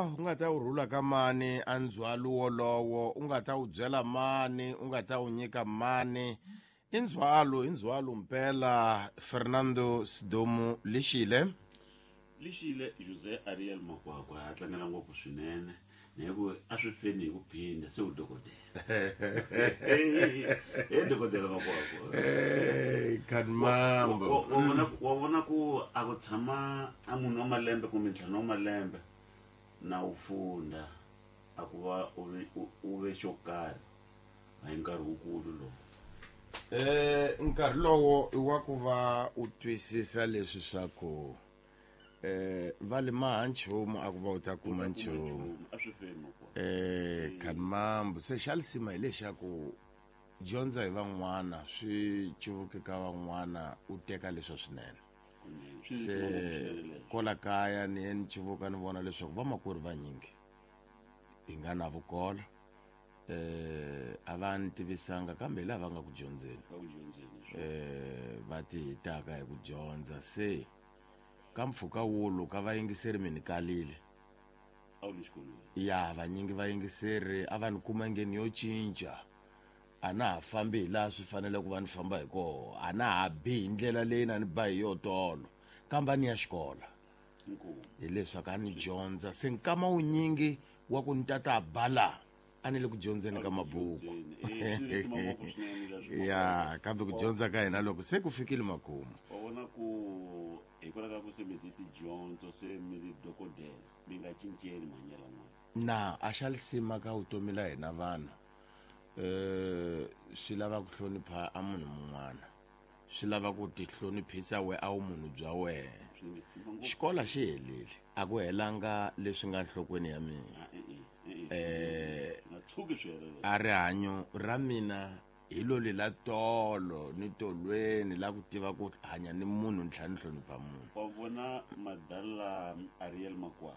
Ah, u nga ta wu rhula ka mani a ndzhwalo wolowo, u nga ta wu byela mani, u nga ta wu nyika mani. I ndzhwalo, i ndzhwalo mpela Fernando Sidomu Lixile. Lixile Jose Ariel Makwakwa a tlangela ngopfu swinene na hi ku a swi feni hi ku phinda se u dokodela. He dokodela Makwakwa. Hey, Khanmambo. Wa vona ku a ku tshama a munhu wa malembe kumbe ntlhanu wa malembe na u funda a ku va u ve xo karhi a hi nkarhi wukulu lowu. Nkarhi lowo i wa ku va u twisisa leswi swa ku va le maha nchumu a ku va u ta kuma nchumu. A swi feni makwenu. Khanmambo se xa lisima hi lexaku dyondza hi van'wana swi cuvuke ka van'wana u teka leswa swinene. Se kola kaya ni ye ni cuvuka ni vona leswaku vamakwerhu vanyingi hi nga na vukola a va ni tivisanga kambe hi laha va nga ku dyondzeni. Va ti hitaka hi ku dyondza se ka mpfhuka wulu ka vayingiseri mi ni kalile. Ya vanyingi vayingiseri a va ni kuma ngeni yo cinca. A na ha fambi hi laha swi fanele ku va ni famba hi koho, a na ha bi hi ndlela leyi na ni ba hi yo tolo, kambe a ni ya xikola. Hileswaku a ni dyondza se nkama wunyingi wa ku ni tata ba la a ni le ku dyondzeni ka mabuku. Ya kambe ku dyondza ka hina loko se ku fikile makumu. Wa vona ku hikwalaho ka ku se mi ti tidyondzo se mi ri dokodela mi nga cinceni mahanyelo n'wana. Na a xa lisima ka vutomi la hina vanhu. Swi lava ku hlonipha a munhu mun'wana, swi lava ku ti hloniphisa we a wu munhu bya wehe. Xikola xi helile, a ku helanga leswi nga nhlokweni ya mina. A rihanyo ra mina hi lo lela tolo ni tolweni la ku tiva ku hanya ni munhu ni tlhela ni hlonipha munhu. Wa vona madala Ariel Makwakwa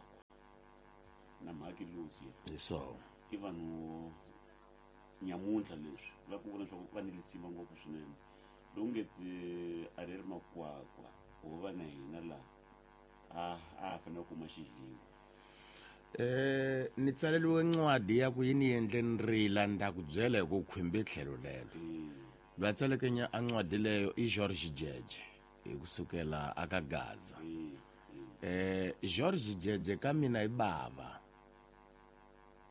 na Mhaki Lucia. Hi swona. I vanhu nyamuntlha leswi va ku vona leswaku va ni lisima ngopfu swinene. Lowu nge ti Ariel Makwakwa wo va na hina laha a a fanele ku kuma xihinga. Ni tsaleriwe ncwadi ya ku yi ni endle ni rila ni ta ku byela hi ku khwimbe tlhelo lelo. Loyi a tsaleke a ncwadi leyo i George Jeje hi kusukela aka Gaza. George Jeje ka mina i bava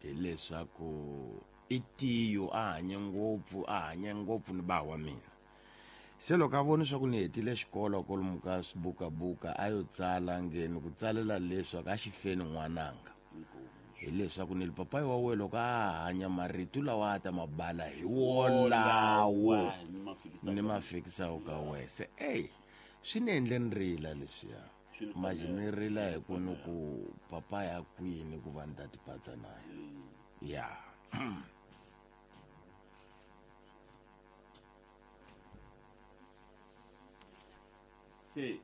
hileswaku i tiyo a hanye ngopfu, a hanye ngopfu ni ba wa mina. Se loko a vona leswaku ni hetile xikolo kwalomu ka swibukabuka a yo tsala ngeni ku tsalela leswaku a xi feni n'wananga. Hileswaku ni papayi wa wena loko a hanya marito lawa a ta mabala hi wolawo ni ma fikisaka ka wena. Se ey swi ni endle ni rila leswiya. Manje ni rila hi ku ni ku papa ya kwini ku va ni ta tipatsa na yena. Ya. Se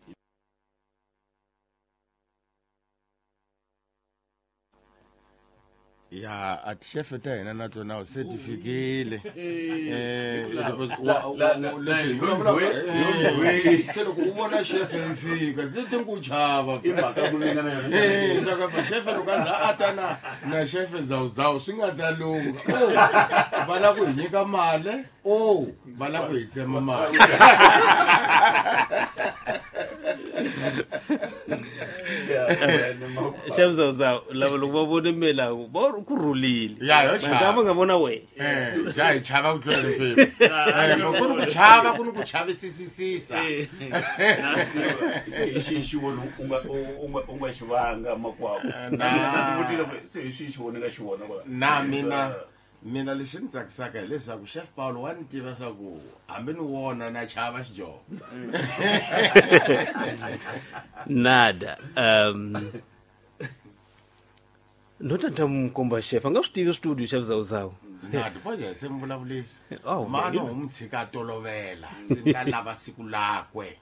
Ya a tixefe ta hina na tona se ti fikile. Se loko u vona xefe yi fika se ti ku chava. I mhaka ku vingana yona. Swa ku xefe loko a za a ta na xefe zawuzawu swi nga ta lungha. Va lava ku hi nyika mali, va lava ku hi tsema mali. Xefe zawuzawu lava loko va vone mina va ri ku rhulile. Ya, yo chava. Mhaka va nga vona wena. Ja hi chava ku tlula mpimo. Loko ku ri ku chava ku ni ku chavisisisa. Se hi xihi xivono u nga xi vanga makwavo? Na. Se hi xihi xivono u nga xi vona kwala? Na mina lexi ni tsakisaka hileswaku Chef Paulo wa ni tiva swa ku hambi ni wona na chava xidyoho. Nada. No ta ta n'wi komba chef, a nga swi tivi studio Chef Zawuzawu. Nada, boja se mi vulavulisa. Oh, Mano vele. u n'wi tshika a tolovela. Se ni ta lava siku lakwe.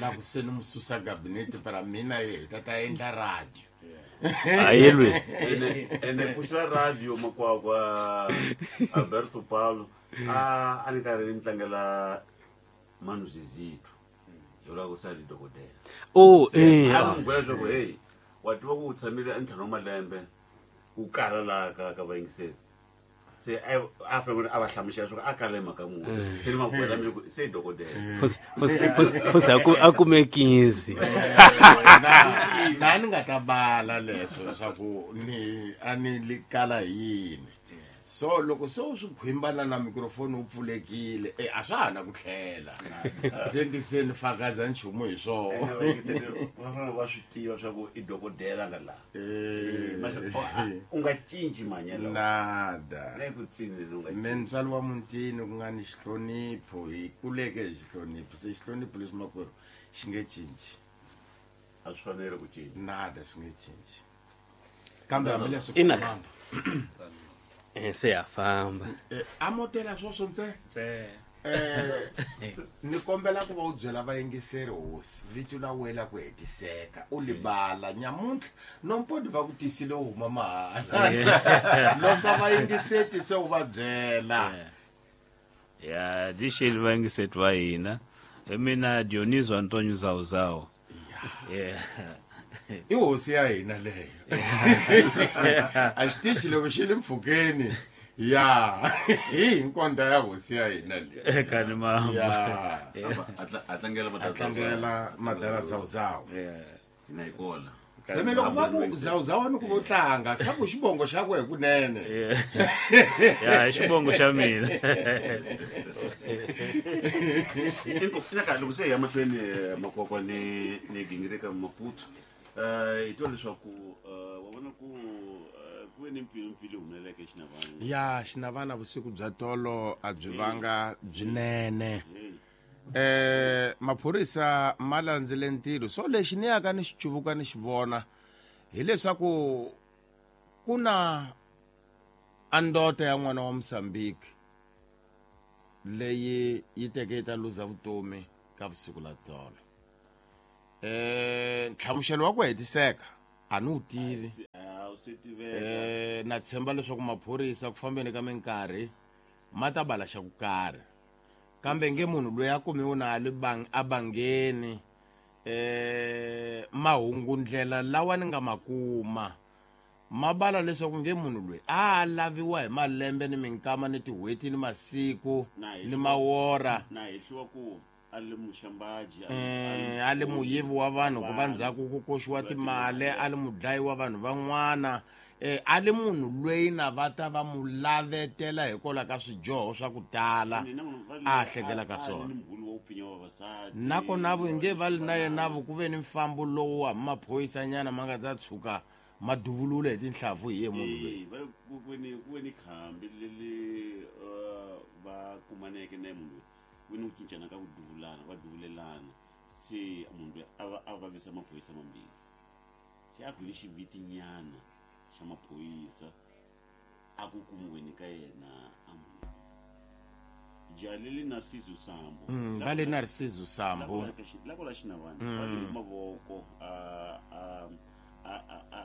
La ku se ni n'wi susa gabinete para mina ye hi ta ta endla radio. Ayelwe. Ene pfuxela radio makwakwa Alberto Paulo a ni karhi ni tlangela Manu Zizito. Hi vula ku sali dokodela. Oh, Se, a n'wi byela leswaku, hey, wa tiva ku u tshamile entlhanu wa malembe wu kala laha ka vayingiseri. Se a a fanele a va hlamusela swa ku a kala hi mhaka muni. Se ni makwela mina ku se i dokodela. Futhi a kume 15. Na ni nga ta bala leswo swa ku ni a ni li kala hi yini. So loko se u swi khwimbana na mikrofoni wu pfulekile, e a swa ha na ku tlhela. Se ndi se ni fakaza nchumu hi swona. Va fanele va swi tiva swa ku i dokodela nga laha. U nga cinci mahanyelo. Nada. Na ku tsini u nga Me ntswalo wa muntini ku nga ni xihlonipho, hi kuleke hi xihlonipho. Se xihlonipho leswi makwerhu xi nge cinci. A swi fanele ku cinca. Nada, swi nge cinci. Kambe hambileswi Ina. Se ya famba. A motela swoswo ntse. Ni kombela ku va u byela vayingiseri hosi vito la wena ku hetiseka u libala nyamuntlha nompodi va ku tisile u huma mahala. Losa vayingiseti se u va byela. Ya dixeli vayingiseti va hina. Hi mina Dioniso Antonio Zawuzawu. Yeah. I hosi ya hina leyo. A xitichi loko xi le mpfhukeni. Ya, hi hinkonda ya hosi ya hina leyi. Kani mama. Ya. A tlangela A tlangela madala Zawuzawu. Hina hi kona. Kambe loko va ku Zawuzawu ni ku vo tlanga, swa ku xivongo xa ku hikunene. Ya, xivongo xa mina. Ina ka loko se hi ya mahlweni makwakwa ni gingirika Maputo. Hi twa leswaku wa vona ku ku ve ni mpfilumpfilu humeleleke eXinavana. Ya, Xinavana vusiku bya tolo a byi vanga byinene. Maphorisa ma landzile ntirho. So lexi ni yaka ni xi cuvuka ni xi vona hileswaku ku na andota ya n'wana wa Mozambique leyi yi teke yi ta luza vutomi ka vusiku la tolo. Nhlamuselo wa ku hetiseka a ni wu tivi. Na tshemba leswaku maphorisa ku fambeni ka minkarhi ma ta bala xa ku karhi. Kambe nge munhu loyi a kumiwe na a le a bangeni, mahungundlela lawa ni nga ma kuma ma bala leswaku nge munhu loyi a laviwa hi malembe ni minkama ni tin'hweti ni masiku ni mawora. Na hehliwa ku a le muxambaji, a le muyivi wa vanhu ku va ndzhaku ku koxiwa timali, a le mudlayi wa vanhu van'wana, a le munhu loyi na va ta va mu lavetela hikwalaho ka swidyoho swa ku tala a hlekela ka swona. Nakona vo nge va li na yena vo ku ve ni mfambo lowu wa maphoyisanyana ma nga ta tshuka ma duvulule hi tinhlavu hi ye munhu loyi. Va ku ve ni, ku ve ni khambi leri va kumaneke na munhu loyi. Ku ve ni ku cincana ka ku duvulana, va duvulelana. Se munhu loyi a va a vavisa maphorisa mambirhi. Se a ku ni xivitinyana xa maphorisa a ku kumiweni ka yena a munhu. Jalili Narciso Sambo. Va le Narciso Sambo. La ku la Xinavana. Va le mavoko,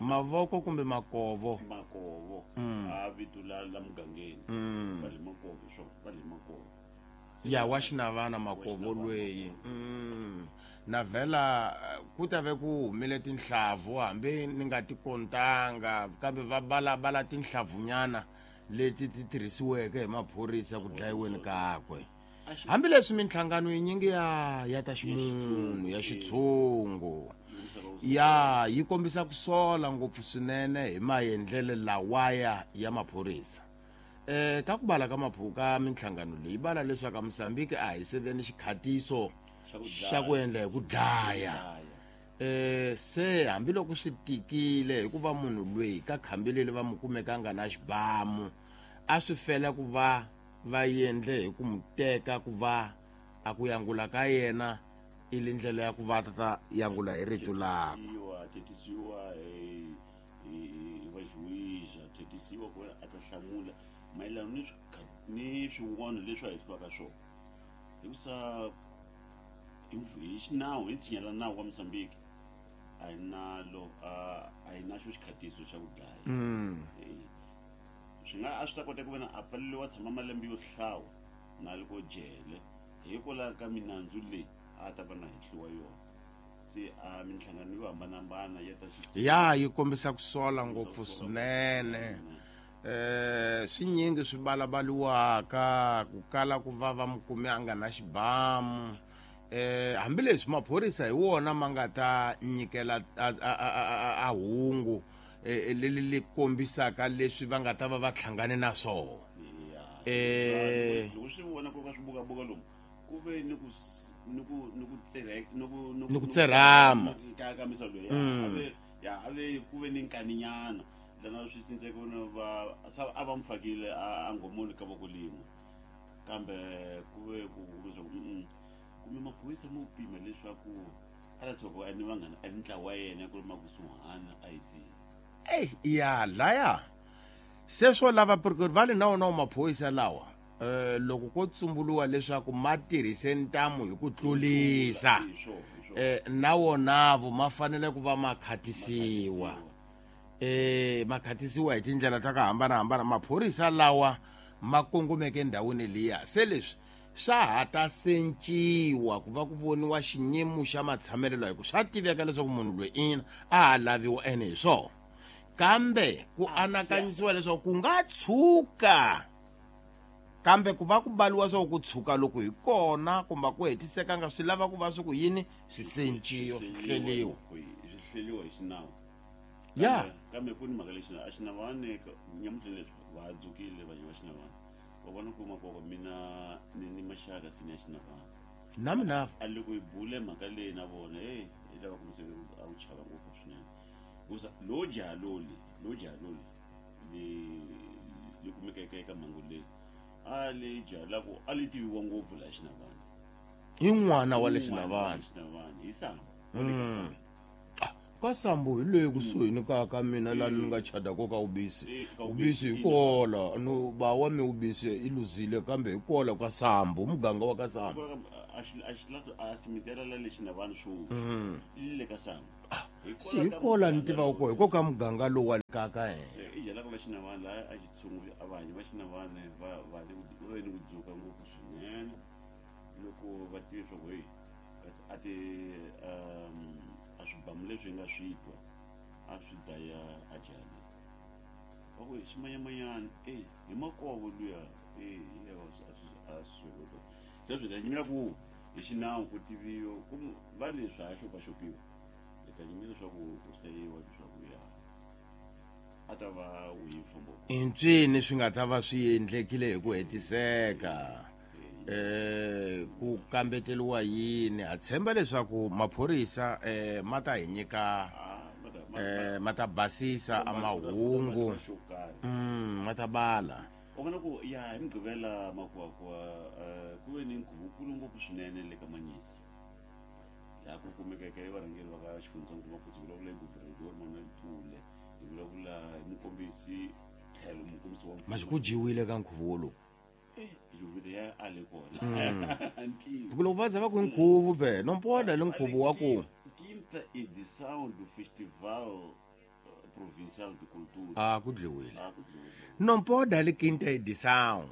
Mavoko kumbe makovo. Makovo. A vito la mugangeni. Va le makovo, swo, va le makovo. Ya wa Xinavana makovo loyi. Na vhela ku ta ve ku humile tinhlavu hambi ni nga ti kontanga kambe va bala tinhlavunyana leti ti tirhisiweke hi maphorisa ku dlayiweni kakwe. Hambileswi minhlangano yinyingi ya ta ximunhu ya xitshungu ya yi kombisa ku sola ngopfu swinene hi maendlelo lawaya ya maphorisa. Ka ku bala ka maphuka minhlangano leyi bala leswaku Mozambique a hi seveni xikhatiso xa ku endla hi ku dlaya. Se hambiloko swi tikile hikuva munhu loyi ka khambi leri va mu kumekanga na xibamu a swi fela ku va va endle hi ku mu teka ku va a ku yangula ka yena i le ndlela ya ku va ta yangula hi rito lakwe. Thetisiwa hi va juiza, thetisiwa ku a ta hlamula mayelana ni swin'wana leswi a hehliwaka swona. Hikusa hi xinawu, hi tshinya la nawu wa Mozambique a hi nalo, a hi na xo xikhatiso xa ku dlaya. Swi nga a swi ta kota ku vona a pfaleriwa tshama malembe yo hlawa na loko jele hikwalaho ka minandzu leyi a ta va na hehliwa yona. Se a minhlangano yo hambanahambana ya ta xi Ya yi kombisa ku sola ngopfu swinene. Swinyingi swi balabaliwaka ku kala ku va va mukumi a nga na xibamu. Hambileswi maphorisa hi wona ma nga ta nyikela a hungu leri li kombisaka leswi va nga ta va va hlangane na swona. Loko swi vona ku ka swi bukabuka lomu ku ve ni ku ni ku ni ku tsere ni ku ni ku tserhama ka misava leyi a ve ya a ve ku ve ni nkaninyana lana swi sindzeke va a va n'wi fakile a ngomoni ka voko lin'we, kambe ku ve ku leswaku kumbe maphorisa mo pima leswaku a ta tshuka a ni vanghana a ni ntlawa wa yena ku ri makusuhana a yi tivi. Eyi ya laya se swo lava porque va le na wona maphorisa lawa loko ko tsumbuluwa leswaku ma tirhise ntamu hi ku tlulisa na wonavo ma fanele ku va ma khatisiwa. Ma khatisiwa hi tindlela ta ku hambanahambana. Maphorisa lawa ma kongomeke endhawini liya se leswi swa ha ta senciwa ku va ku voniwa xiyimo xa matshamelelo hi ku swa tiveka leswaku munhu loyi ina a ha laviwa ene hi swona, kambe ku anakanyisiwa leswaku ku nga tshuka, kambe ku va ku baliwa swa ku tshuka loko hi kona kumbe ku hetisekanga swi lava ku va swi ku yini swi senciwa swi hleliwa swi hleliwa hi xinawu. Ya kambe ku ni mhaka lexi a xinavane nyamutlha leswi va dzukile vanhu va xinavane va vona ku makoko mina ni maxaka sini ya xinavane na mina a loko hi bule mhaka leyi na vona hey hi lava ku miseke a wu chava ngopfu swinene hikusa lo jaha loli li kumekeke eka mhangu leyi a le jaha la ku a li tiviwa ngopfu laha xinavane i n'wana wa le xinavane hi Sambo wa le ka Sambo. Ka Sambo hi le kusuhi ni ka mina laha ni nga chada ko ka Ubisi. Ubisi hi kola no ba wa mi Ubisi i luzile kambe hi kola ka Sambo muganga wa ka Sambo. A xi a simitela la le xinavane swo le ka Sambo. Si hi kola ni tiva ko hi ko ka muganga lowu wa ka ka yena. I jela ka xinavane la a xi tshungu a vanhu va xinavane va va ni ku dzuka ngopfu swinene loko va tiva swa ku hey kasi a ti a swibamu leswi nga swi twa a swi daya a jali va ku ximanyamanyana e hi makovo luya e a swi se swi ta nyimela ku hi xinawu ku tiviwa ku va leswi ha xopaxopiwa hi ta nyimela leswaku ku hlayiwa leswaku ya a ta va wihi mfambo intswini swi nga ta va swi endlekile hi ku hetiseka. Ku kambeteliwa yini ha tshemba leswaku maphorisa ma ta hi nyika ma ta basisa a mahungu ma ta bala. U vona ku ya hi Mugqivela Makwakwa ku ve ni nkhuvo ngopfu swinene le ka Manyisi laha ku kumekeke varhangeri va ka xifundzankulu Maputsu vulavula hi Guvernador Manuel Tule, hi vulavula hi mukombisi tlhelo mukombisi wa maxi ku dyiwile ka nkhuvo wolowu. Ya a le kona loko va za va ku nkhuvo be nompoda le nkhuvo wa ku Quinta edição do Festival Provincial de Cultura a ku dliwile nompoda le quinta edição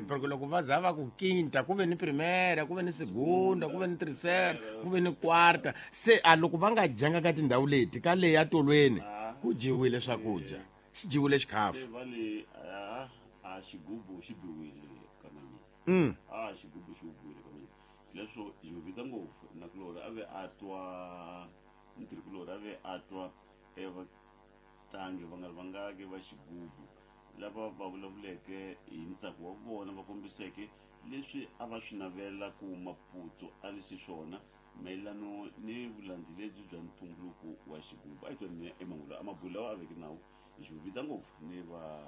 porque loko va za va ku quinta ku ve ni primera ku ve ni segunda ku ve ni tercera ku ve ni quarta se a loko va nga dyanga ka tindhawu leti ka leyi ya tolweni ku dyiwile swakudya xi dyiwile xikhafu a xigubu xi biwile ka Manyisi. A xigubu xi biwile ka Manyisi. Leswo xi vita ngopfu na kulori a ve a twa ntirhikulori a ve a twa evatlangi va nga vangaki va xigubu lava va vulavuleke hi ntsako wa vona va kombiseke leswi a va swi navela ku Maputsu a li xiswona mayelano ni vulandzi lebyi bya ntumbuluko wa xigubu. A hi tweni emangulu a mabulu lawa a veke nawu hi xi vita ngopfu ni va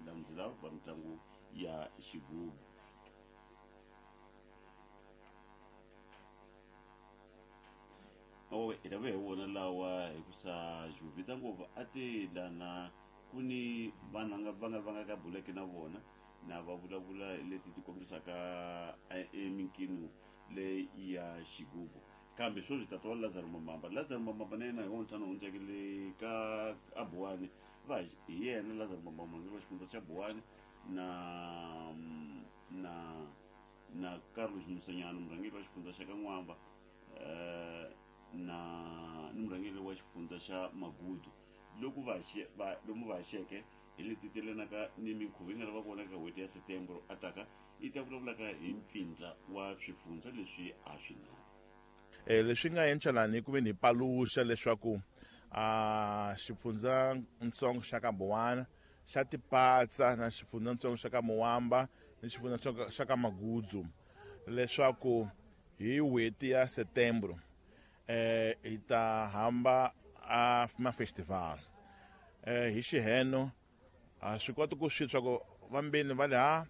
landzela va mitlangu ya xigubu. Hi ta va hi vona lawa hikusa xivita ngopfu a ti lana ku ni vanhu va nga ka buleke na vona na va vulavula leti ti kombisaka eminkino leyi ya xigubu. Kambe sweswi tata wa Lazaro Mambamba, Lazaro Mambamba na yena hi wona ntlhanu hundzeke le ka Abuwani va hi yena Lazaro Mambamba murhangeri wa xifundza xa Buwani na Carlos Musanyana murhangeri wa xifundza xa ka N'wamba. Na ni murhangeri wa xifundza xa Magudu loko va va lomu va xeke hi leti telanaka ni minkhuvo yi nga ta va kona ka n'hweti ya Setembro a taka yi ta vulavulaka hi mpfindla wa swifundza leswi a swi na. Leswi nga endla lani ku ve ni paluxa leswaku a xifundzatsongo xa ka Buwana xa tipatsa na xifundzatsongo xa ka Muwamba ni xifundzatsongo xa ka Magudzu, leswaku hi n'hweti ya Setembro hi ta hamba a mafestival. Hi xiheno a swi koti ku swi swa ku vambeni va le ha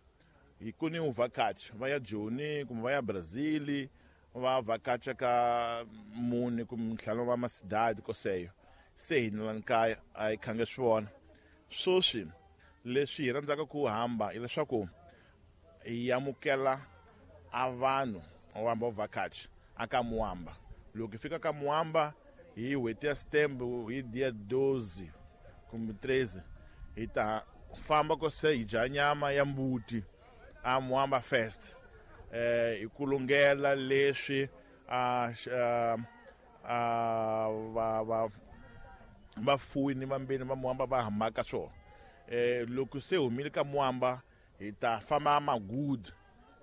hi ku ni vhakachi va ya Joni kumbe va ya Brazil va vhakacha ka mune kumbe ntlhanu va masidadi koseyo se hina lani kaya a hi khange swi vona. Sweswi leswi hi rhandzaka ku hamba hileswaku hi amukela a vanhu va hamba vhakachi aka Muwamba. Loko hi fika ka Muwamba hi n'hweti ya Setembro hi dia 12 kumbe 13 hi ta famba ko se hi dya nyama ya mbuti a Muwamba Fest. Hi ku lungela leswi a va vafuwi ni vambeni va Muwamba va hambaka swona. Loko se humile ka Muwamba hi ta famba Magudu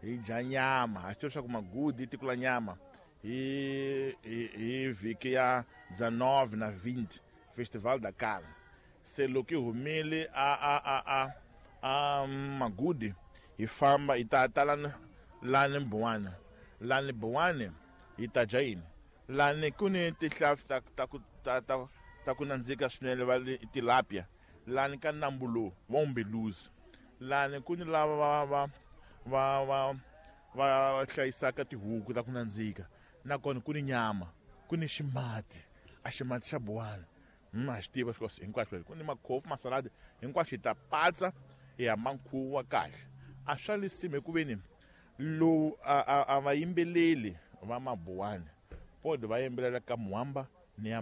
hi dya nyama. Ha swi tiva leswaku Magudu i tiko la nyama. Hi vhiki ya 19 na 20 Festival da Carne. Se loko hi humile a Magudi hi famba hi ta ta lani Buwana. Lani Buwana hi ta dya yini? Lani ku ni tihlampfi ta ku nandzika swinene va le tilapia. Lani ka nambu lowu wa Umbeluzi. Lani ku ni lava va hlayisaka tihuku ta ku nandzika. Nakona ku ni nyama, ku ni ximati, a ximati xa Buwana. Ha xi tiva hinkwaswo ku ni makhofu, masaladi, hinkwaswo hi ta patsa hi hamba nkhuvo wa kahle. A swa lisima hikuveni lowu a va yimbeleli va Mabuwana pod va yimbelela ka Muwamba ni ya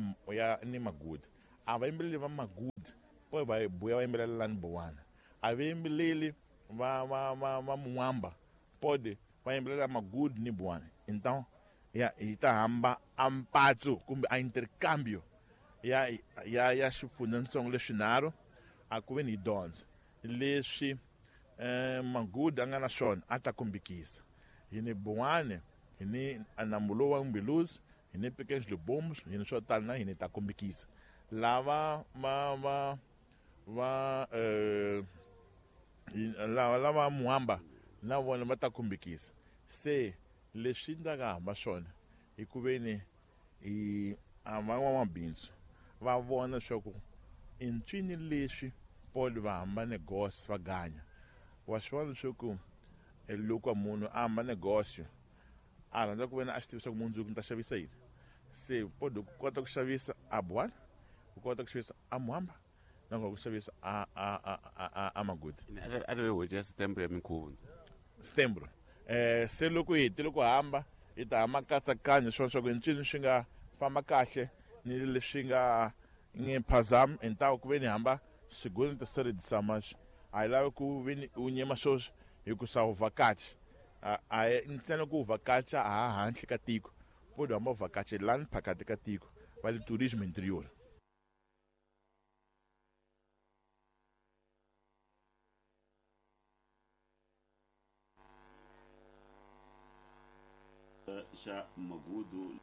ni Magudi. A va yimbeleli va Magudi pod va buya va yimbelela lani Buwana. A va yimbeleli va Muwamba pod va yimbelela Magudi ni Buwana. Então ya hi ta hamba a mpatso kumbe a intercambio ya xifundzatsongo leswinharhu a ku ve ni hi dyondza leswi Magudi a nga na swona a ta kombekisa. Hi ni Buwana, hi ni nambu lowu wa Umbeluzi, hi ni Pequenos Libombos, hi ni swo tala na hina hi ta kombekisa. Lava lava Muwamba na vona va ta kombekisa. Se leswi ndza hamba swona hi ku ve ni hi a van'wamabindzu va vona leswaku i ncini leswi Paul va hamba negosyo va ganya. Wa swi vona leswaku loko munhu a hamba negosyo a rhandza ku vena a swi tiva leswaku mundzuku ni ta xavisa yini. Se Paul ku kota ku xavisa a Buwana, ku kota ku xavisa a Muwamba, na ku xavisa a Magudi. A ta ve n'hweti ya Setembro ya minkhuvo. Setembro. Se loko hi hetile ku hamba hi ta hamba nkatsakanyo swona swa ku ncini swi nga famba kahle ni leswi nga nge phazami hintawo ku ve ni hamba segunda, terceira edição, mas a hi lavi ku ve ni u nyema sweswi hikusa u vhakachi. A hi ntsena ku u vhakacha ha handle ka tiko, pod hamba u vhakacha lani phakati ka tiko va le tourisme interior. Xa Magudu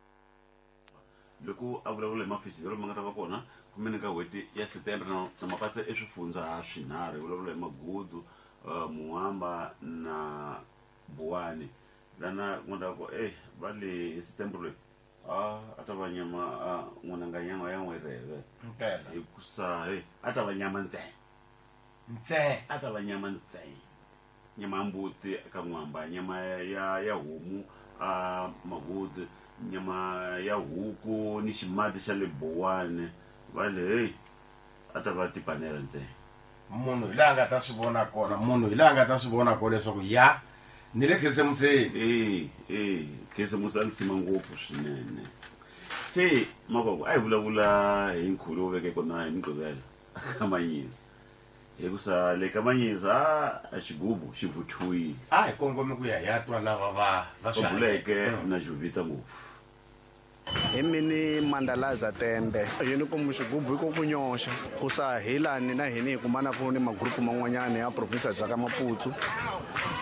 loko a vulavula hi mafestival ma nga ta va kona kumbe ka n'hweti ya Setembro na mapatsa i swifundza swinharhu. Hi vulavula hi Magudu, Muwamba na Buwani. Lana ku nga ta ku va le hi Setembro leyi a ta va nyama n'wananga nyama ya n'wereve. Mpela. Hikusa a ta va nyama ntsena. Ntsena. A ta va nyama ntsena. Nyama ya mbuti ka N'wamba, nyama ya homu a Magudi, nyama ya huku ni ximati xa le Buwani. Va le hey a ta va tipanela ntsena. Munhu hi laha nga ta swi vona kona, munhu hi laha nga ta swi vona kona leswaku ya ni le Khisimuseni. Khisimusi a ni tshima ngopfu swinene. Se Makwakwa a hi vulavula hi nkhuvo lowu veke kona hi Mugqivela ka Manyisa. Hikusa le ka Manyisa a xigubu xi vuthiwile. A hi kongome ku ya hi ya twa lava va swi Buleke na Jovita ngopfu. Hi mini Mandalaza Tembe. Yini ku xigubu i ku nyoxa. Ku sa hilani na hini hi kumana ku ni magrupu man'wanyana ya province bya ka Maputo.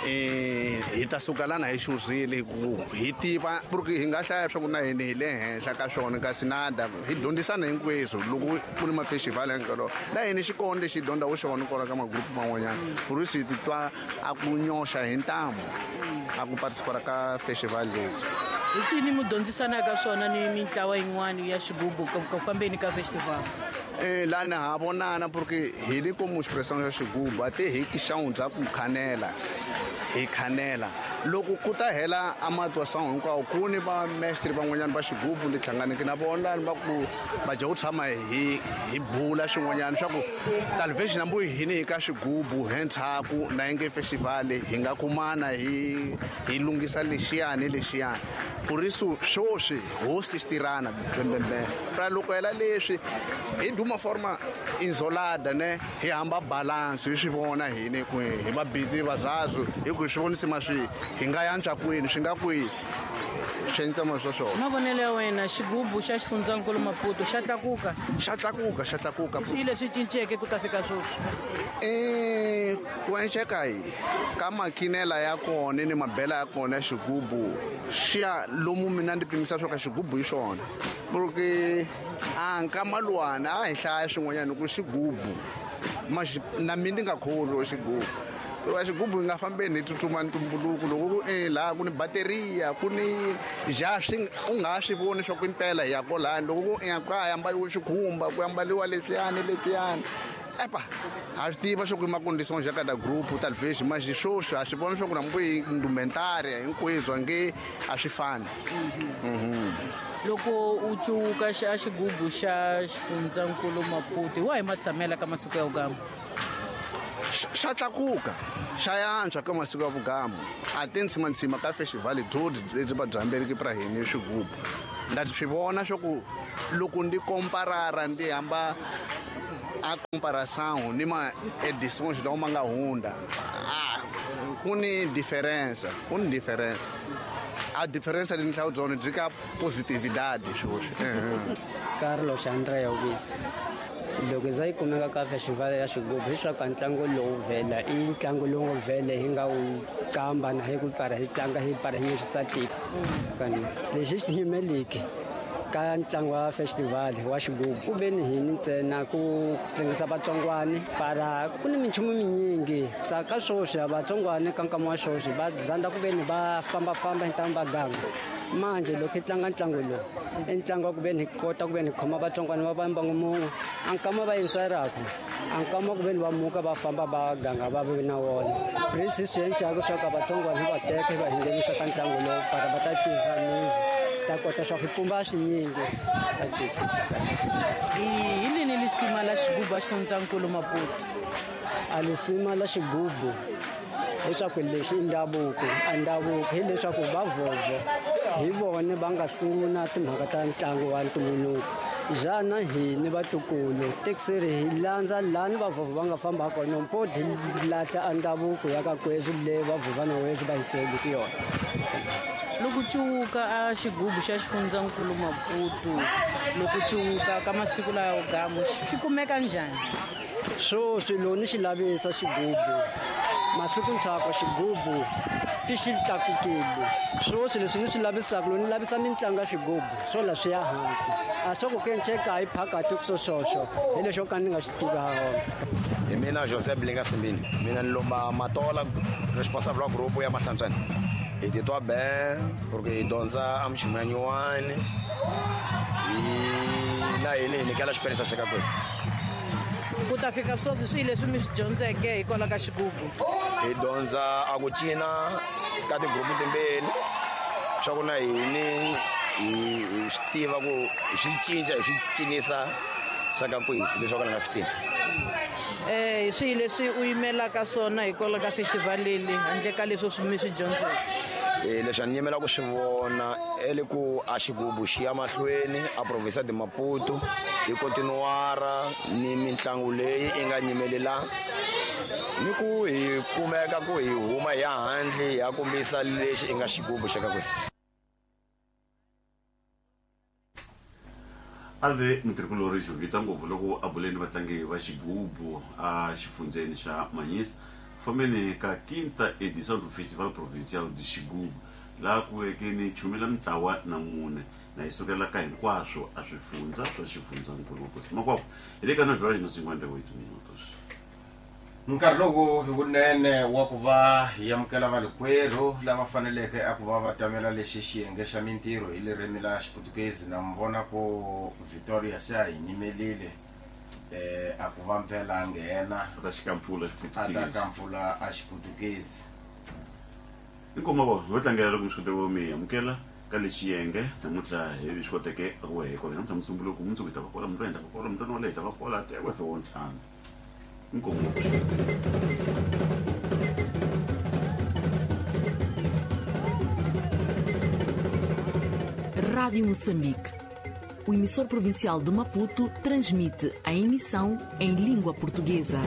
Hi ta suka lana hi xurhile ku hi tiva porque hi nga hlaya swa ku na hini hi le henhla ka swona kasi nada hi dyondzisana hinkweswo loko ku ni mafestival hinkwawo na hini xikolo lexi dyondza wu xona kona ka magrupu man'wanyana ku ri si titwa a ku nyoxa hi ntamu a ku participate ka festival leyi. Hi swini mi dyondzisanaka swona ni mintlawa yin'wana ya xigubu ku fambeni ka festival? Lana ha vonana porque hi le como expressão ya xigubu a te hi xixangu bya ku khanela hi khanela loko ku ta hela amatuação hinkwawo ku ni va mestre van'wanyana va xigubu ni hlanganeke na vona va ku va dya ku tshama hi bula swin'wanyana swa ku talvez na mbuyi hini hi ka xigubu hentshaku na inge festival hi nga kumana hi lunghisa lexiyani lexiyani por isso swoswi hosi tirana bembembe pra loko hela leswi hi duma forma isolada ne hi hamba balance hi swi vona hini ku hi va busy va zwazo hi ku swi vonisa maswi hi nga yantswa kwini swi nga kwihi swi ma swona. Mavonelo ya wena xigubu xa xifundzankulu Maputo xa tlakuka? Xa tlakuka, xa tlakuka. Swi leswi cinceke ku ta fika sweswi? Ku enceka hi ka makinela ya kona ni mabela ya kona ya xigubu xi ya lomu mina ndi pimisa swa ka xigubu hi swona porque a nkamalwana a hi hlaya swin'wanyana ku xigubu na mina ndi nga kholwi xigubu. Wa xigubu hi nga fambeni hi tsutsuma ntumbuluko loko ku laha ku ni bateriya ku ni ja swi u nga swi voni swa ku impela hi ya kolani loko ku ka ambaliwe xikhumba ku ambaliwa leswiyani leswiyani epa ha swi tiva swa ku i maconditions ya kada group talvez mas swoswi ha swi vona swa ku na mbuyi indumentary hinkweswo nge a swi fani. Loko u cuka xa xigubu xa xifundzankulu Maputo hi wahi matshamela ka masiku ya vugamu? Xa tlakuka xa yantswa ka masiku ya vugamu a ti ntsimantsima ka festival dyodi lebyi va byi hambeleke pra hini swigubu nda swi vona swa ku loko ndi komparara ndi hamba a comparação ni ma edições lawa ma nga hundza ku ni diferença ku ni diferença a diferença leyi ni hlawula byona byi ka positividade swoswi. Carlos Andrea Ubisi. Loko za yi kumeka ka festival ya xigubu hiswaku a ntlangu lowu vhela i ntlangu lowu nga vhele hi nga wu qamba na hi ku para hi tlanga hi para hi nyisisa tiko kani lexi xi yimeliki ka ntlangu wa festival wa xigubu ku ve ni hini ntsena ku tlangisa vatsongwani para ku ni minchumu minyingi sa ka swoswi a vatsongwani ka nkama wa swoswi va zanda ku ve ni va fambafamba hi ntamu va ganga manje loko hi tlanga ntlangu lowu i ntlangu wa ku ve ni kota ku ve ni khoma vatsongwani va va mbangu mun'we a nkama va yingiselaku a nkama ku ve ni va muka va famba va ganga va ve na wona risi swi encaku swa ka vatsongwani hi va teka hi va hinghenisa ka ntlangu lowu para va ta tisa mizi ta kota swa ku pfumba swinyingi ka tiko. Hi lini lisima la xigubu a xifundzankulu Maputo? A lisima la xigubu leswaku lexi i ndhavuko a ndhavuko hileswaku va vhovho hi vona va nga sungula timhaka ta ntlangu wa ntumbuluko jana hini vatukulu tekiseri hi landza lani vavhovho va nga famba kona mpo hi lahla a ndhavuko ya ka kweswi le vavhovha na weswi va hiseliki yona. Loko cuka a xigubu xa xifundzankulu Maputo loko cuka ka masiku lawa gamu swi kumeka njhani? Swoswi loko ni xi lavisa xigubu masiku ntshaku xigubu fi xi tlakukile swoswi leswi ni swi lavisaka loko ni lavisa mitlangu ya swigubu swo la swi ya hansi a swa ku kenceka hi phakati ku swoswo hi lexo ka ni nga swi tivi ha wona. Hi mina Joseph Linga Simbini mina ni lomba Matola responsable wa group ya Mahlantswana. Hi titwa ben porque hi dyondza a minchumu ya nyuwani na hini hi nyikela experience xa ka kwesi. Ku ta fika sweswi swi leswi mi swi dyondzeke hikwalaho ka xigubu? Hi dyondza a ku cina ka tigrupu timbirhi swa ku na hini hi swi tiva ku hi swi cinca hi swi cinisa swa ka kwesi leswi ka ni nga swi tivi. Swi leswi u yimelaka swona hikwalaho ka festival leyi handle ka leswi mi swi dyondzeke? Leswi a ni yimela ku swi vona e le ku a xigubu xi ya mahlweni a province de Maputo hi continuara ni mitlangu leyi i nga nyimelela ni ku hi kumeka ku hi huma hi ya handle hi ya kombisa lexi i nga xigubu xa ka kwesi. A ve mutirhikulorhi Jovita ngopfu loko a bule ni vatlangi va xigubu a xifundzheni xa Manhize fambeni ka quinta edição do Festival Provincial de Xigubu laha ku veke ni chumela mintlawa na mune na yi sukela ka hinkwaswo a swifundza swa xifundzankulu Makosi Makwakwa hi le ka 9 horas na 58 minutos. Nkarhi lowu hi wunene wa ku va hi amukela valikwerhu lava faneleke a ku va va tamela lexi xiyenge xa mintirho hi ririmi la Xiputukezi. Na mi vona ku Victoria se a hi nyimelile a ku va mpela a nghena a ta xika mpfula a ta Xiputukezi. ka mpfula a Xiputukezi. Inkomu vo ho tlangela loko mi swi kote mi amukela ka lexi xiyenge namuntlha hi swi koteke a ku hi kona namuntlha musunguluko mundzuku hi ta va kola mundzuku hi ta va kola mundzuku wale hi ta va kola tewe wo ntlhanu. Inkomu. Rádio Moçambique. O emissor provincial de Maputo transmite a emissão em língua portuguesa.